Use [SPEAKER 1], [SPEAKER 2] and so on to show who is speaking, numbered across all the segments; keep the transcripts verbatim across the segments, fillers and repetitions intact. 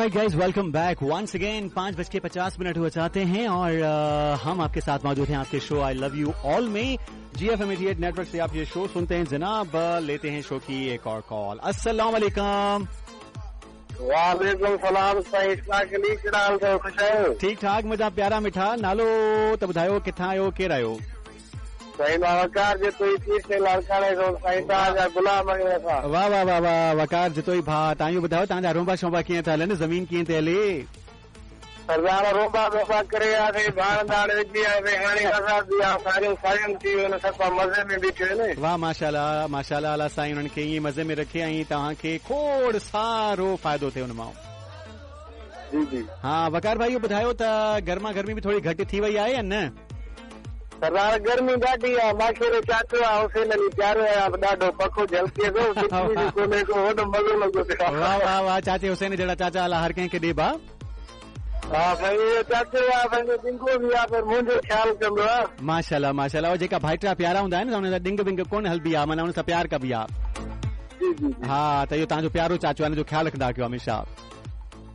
[SPEAKER 1] Alright guys, welcome back once again. पांच बज के पचास मिनट हुआ चाहते हैं और आ, हम आपके साथ मौजूद हैं आपके show I love you all में। G F M eighty eight network से आप ये शो सुनते हैं। जनाब लेते हैं शो की एक और कॉल। अस्सलाम वालेकुम।
[SPEAKER 2] वालेकुम सलाम। साईं इश्ताक अली, कहिड़ा हाल अथव? ख़ुशि आहियो?
[SPEAKER 1] ठीक ठाक, मुंहिंजा प्यारा मिठा। नालो त ॿुधायो, किथां आहियो, केरु आहियो?
[SPEAKER 2] साईं मां वकार जतोई, पीर साईं लाड़काणे खां। साईं तव्हांजा गुलाम आहियूं असां।
[SPEAKER 1] वाह वाह वाह वाह वकार जतोई भाउ, तव्हां इहो ॿुधायो तव्हांजा रोंबा शोंबा कीअं था हलनि, ज़मीन कीअं थी हले?
[SPEAKER 2] सरदार रोंबा शोंबा करे आयासीं, भाण दाण विझी आयासीं, हाणे आज़ादी आहे, सारियूं सारियूं थी वियूं आहिनि, सफ़ा मज़े में बीठे आहिनि।
[SPEAKER 1] वाह माशाअल्लाह माशाअल्लाह, अलाह साईं उन्हनि खे ईअं मज़े में रखे ऐं तव्हांखे खोड़ सारो फ़ाइदो थिए उन मां।
[SPEAKER 2] जी जी।
[SPEAKER 1] हा वकार भाई, इहो ॿुधायो त गर्मा गर्मी बि थोरी घटि थी वई आहे या न?
[SPEAKER 2] सरदार गर्मी ॾाढी आहे, मूंखे चाचो आहे हुसैन अली प्यारो आहे, ॾाढो पखो झलके थो, बिजली बि कोन्हे को, वॾो मज़ो लॻो पियो आहे।
[SPEAKER 1] वाह वाह वाह, चाचे हुसैन जहिड़ा चाचा अलाह हर कंहिंखे ॾे भाउ।
[SPEAKER 2] हा साईं, इहो चाचो आहे पंहिंजो, ॾिंगो बि आहे, पर मुंहिंजो ख़्यालु कंदो आहे।
[SPEAKER 1] माशाअल्लाह माशाअल्लाह। जेका भाइटा प्यारा हूंदा आहिनि हुन सां ॾिंग विंग कोन हलबी आहे, माना हुन सां प्यार कबी आहे।
[SPEAKER 2] जी जी।
[SPEAKER 1] हा त इहो तव्हांजो प्यारो चाचो आहे, हुनजो ख़्यालु रखंदा कयो हमेशा।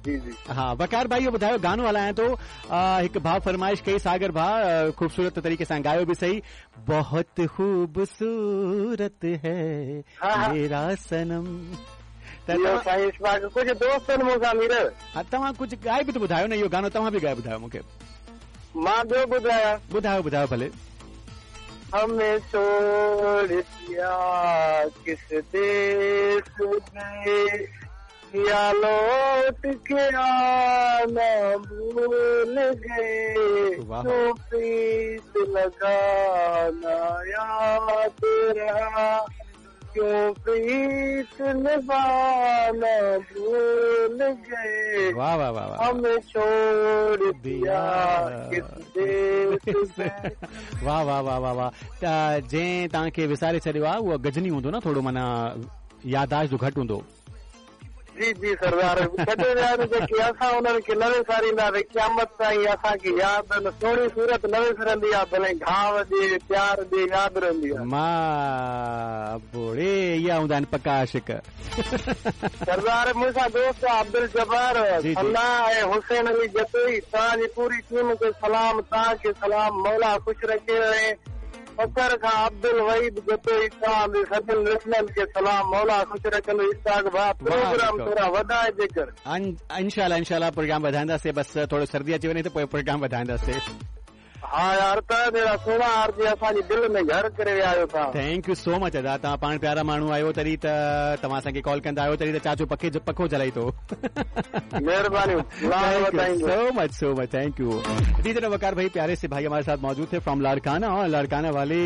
[SPEAKER 2] जी जी।
[SPEAKER 1] हाँ वकार भाई, इहो ॿुधायो गानो हलायां थो, हिकु भाउ फरमाइश कई, सागर भाउ ख़ूबसूरत तरीक़े सां ॻायो बि सही। बहुत ख़ूबसूरत है मेरा सनम।
[SPEAKER 2] साईं इश्फाक, कुझु दोस्त आहिनि मूंसां मीर।
[SPEAKER 1] हा तव्हां कुझु ॻाए बि त ॿुधायो न, इहो गानो तव्हां बि ॻाए ॿुधायो मूंखे।
[SPEAKER 2] मां ॿियो ॿुधायां?
[SPEAKER 1] ॿुधायो ॿुधायो भले।
[SPEAKER 2] हमें छोड़ दिया किस देश में, या लौट के आना भूल गए, तो प्रीत लगाना याद रहा, क्यों प्रीत निभाना भूल गए।
[SPEAKER 1] वाह वाह वाह,
[SPEAKER 2] हमें छोड़ दिया किस देश में।
[SPEAKER 1] वाह वाह वाह वाह वाह। त जंहिं तव्हांखे विसारे छॾियो आहे उहो गजनी हूंदो न, थोरो माना यादाश्त जो घटि हूंदो।
[SPEAKER 2] जी जी सरदार, छॾे विया आहिनि जेके, असां उन्हनि खे न विसारींदासीं क़यामत ताईं। असांखे यादि आहिनि, सुहिणी सूरत न विसरंदी आहे, भले घाव ॾे प्यार ॾे यादि रहंदी आहे।
[SPEAKER 1] मां बुड़े इहा हूंदा आहिनि पका आशिक।
[SPEAKER 2] सरदार मूंसां दोस्त अब्दुल जब्बार अल्लाह ऐं हुसैन अली जतोई, तव्हांजी पूरी टीम खे सलाम, तव्हांखे सलाम, मौला ख़ुशि रखे। ऐं फखर खां अब्दुल वहीद जतोई, तव्हां बि सभिनी लिसनरनि खे सलाम, मौला ख़ुशि रखंदो। इश्ताक भाउ, प्रोग्राम थोरा वधाए जेकर।
[SPEAKER 1] इंशाअल्लाह इंशाअल्लाह प्रोग्राम वधाईंदासीं, बसि थोरो सर्दी अची वञे त पोइ प्रोग्राम वधाईंदासीं।
[SPEAKER 2] हा यार, त जहिड़ा सुहिणा आरजी असांजी दिलि में घर करे विया आहियो तव्हां।
[SPEAKER 1] Thank you so much अदा, तव्हां पाण प्यारा माण्हू आहियो, तॾहिं त तव्हां असांखे कॉल कंदा आहियो, तॾहिं त चाचो पखे जो पखो जलाई थो।
[SPEAKER 2] मेहरबानी,
[SPEAKER 1] so much so much, thank you. जी जनाब वकार भाई, प्यारे से भाई हमारे साथ मौजूद थे फ्रॉम लाड़काना, और लाड़काना वाले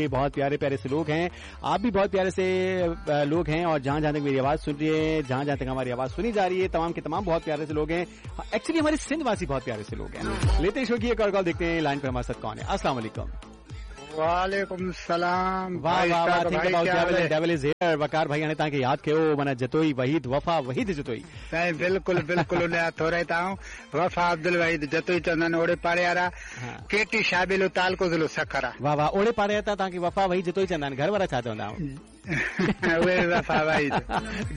[SPEAKER 1] बहुत प्यारे प्यारे से लोग हैं, आप भी बहुत प्यारे से लोग हैं, और जहां जहां तक मेरी आवाज सुन रही है, जहां जहां तक हमारी आवाज सुनी जा रही है, तमाम के तमाम बहुत प्यारे से लोग हैं। एक्चुअली हमारे सिंध वासी बहुत प्यारे से लोग हैं। लेते शो की एक और कॉल, देखते हैं लाइन पर हमारे साथ कौन है। अस्सलाम वालेकुम।
[SPEAKER 3] वालेकुम सलाम।
[SPEAKER 1] वाह वाह वाह, think about devil and devil is here. Waqar भाई हाणे तव्हांखे यादि कयो, माना जतोई वहीद, वफ़ा वहीद जतोई।
[SPEAKER 3] साईं बिल्कुलु बिल्कुलु, उन जा थोरा आहियूं। वफ़ा अब्दुल वहीद जतोई चवंदा आहिनि, ओड़े पाड़े वारा, केटी शाबिलो, तालको ज़िलो सखर आहे।
[SPEAKER 1] वाह वाह, ओड़े पाड़े वारा तव्हांखे वफ़ा वहीद जतोई चवंदा आहिनि, घर वारा छा चवंदा आहिनि?
[SPEAKER 3] उहे वफ़ा वहीद।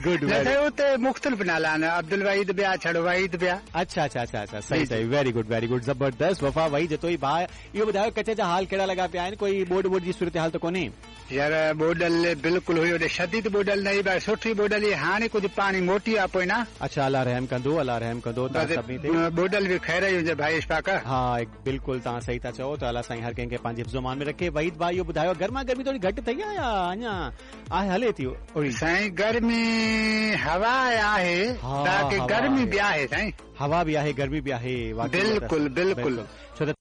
[SPEAKER 1] गुड।
[SPEAKER 3] उते मुख़्तलिफ़ नाला आहिनि, अब्दुल वहीद बि आहे, छड़ो वहीद बि आहे।
[SPEAKER 1] अच्छा अच्छा अच्छा अच्छा, सही सही, वेरी गुड वेरी गुड, ज़बरदस्त। वफ़ा वहीद जतोई भाउ, इहो ॿुधायो कचे जा हाल कहिड़ा लॻा पिया आहिनि? कोई ॿोॾ ॿोॾ जी सूरत हाल त कोन्हे?
[SPEAKER 3] यार ॿोॾल बिल्कुलु हुई, होॾे शदीद ॿोॾल न हुई, सुठी ॿोॾल हुई। हाणे कुझु पाणी मोटी आहे पोइ न।
[SPEAKER 1] अच्छा, अलाह रहम कंदो, अलाह रहम कंदो तव्हां सभिनी ते।
[SPEAKER 3] ॿोॾल बि ख़ैर ई हुजे भाई इश्फाक।
[SPEAKER 1] हा बिल्कुलु, तव्हां सही था चओ। त अलाह साईं हर कंहिंखे पंहिंजे हिफ़्ज़ अमान में रखे। वहीद भाई, इहो ॿुधायो गर्मा गर्मी थोरी घटि अथई या अञा आहे हले थी?
[SPEAKER 3] साईं गर्मी हवा आहे, ताकी गर्मी बि आहे साईं,
[SPEAKER 1] हवा बि आहे, गर्मी बि आहे।
[SPEAKER 3] बिल्कुलु बिल्कुलु,
[SPEAKER 1] छो त